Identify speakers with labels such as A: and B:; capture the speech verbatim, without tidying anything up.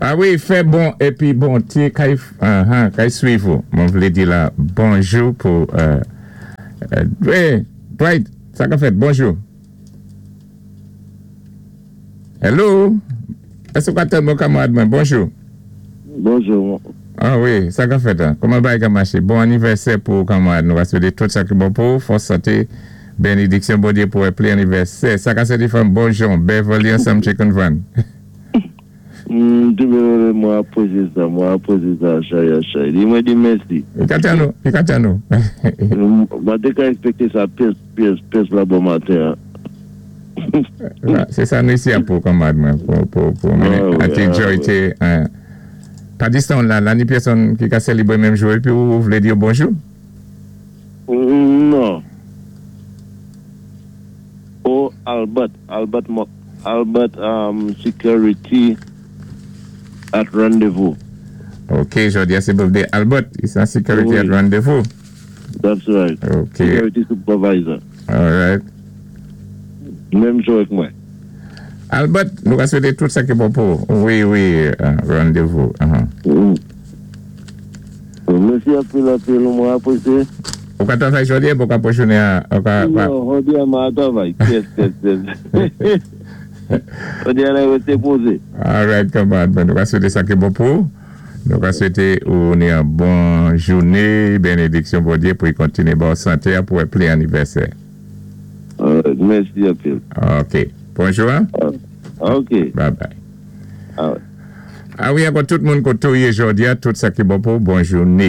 A: Ah wi, fè bon épi bonté kay uh-huh, kay swiv ou. Mwen vlé di la bonjou pou euh, euh, wi, Dwight, sa ka fèt, bonjou. Hello? Èske ou ka tann mwen kanmarad mwen? Bonjou.
B: Bonjou.
A: Ah wi, sa ka fèt, hein? Kouman bagay ka maché? Bon anivèsè pou kanmarad. Nou va swété tout sa ki bon pou, fòs santé, bénédiksyon Bondyé pou plen anivèsè. Sa ka sé fanm bonjou, Beverly ansanm Chicken Van.
B: Mwen apresye sa, mwen apresye sa, chay a chay. Di mwen di mèsi.
A: I ka tann nou, i ka tann nou.
B: Mwen té ka èkspekté sa pyès, pyès, pyès la bon maten.
A: Sé sa nou isi a pou kanmarad mwen, pou, pou, pou mwen, a ti joy té, pa distan la, la ni pèsonn ki ka sélébwé menm jou, épi ou vlé di bonjou?
B: Non. Oh, Albert, Albert, Albert um, Security at Rendezvous.
A: Ok, jodi a sé birthday Albert, is an security at Rendezvous.
B: That's right.
A: Ok.
B: Security supervisor.
A: All right.
B: Menm jou avèk mwen.
A: Albert, nou ka swété tout sa ki bon pou. Wi, wi, uh, Rendezvous. Uh-huh.
B: Mm. Mèsi anpil anpil, mwen apresye.
A: Ou ka travay jodi a, ou ka pou jounen a, ou ka,
B: Non, jodi a mwen travay. Yes, yes, yes. Jodi a la rété pozé.
A: All right, kanmarad. Bon, nou ka swété sa ki bon pou. Nou ka swété ou ni yon bon jounen, bénédiksyon Bondyé pou y kontiné bon santé pou plen anivèsè.
B: All right, mèsi anpil.
A: Ok. Bonjou. Hein?
B: Ok.
A: Bye bye.
B: All right.
A: Ah wi, ankò tout moun koté ou yé jodi a, tout sa ki bon pou, bon jounen.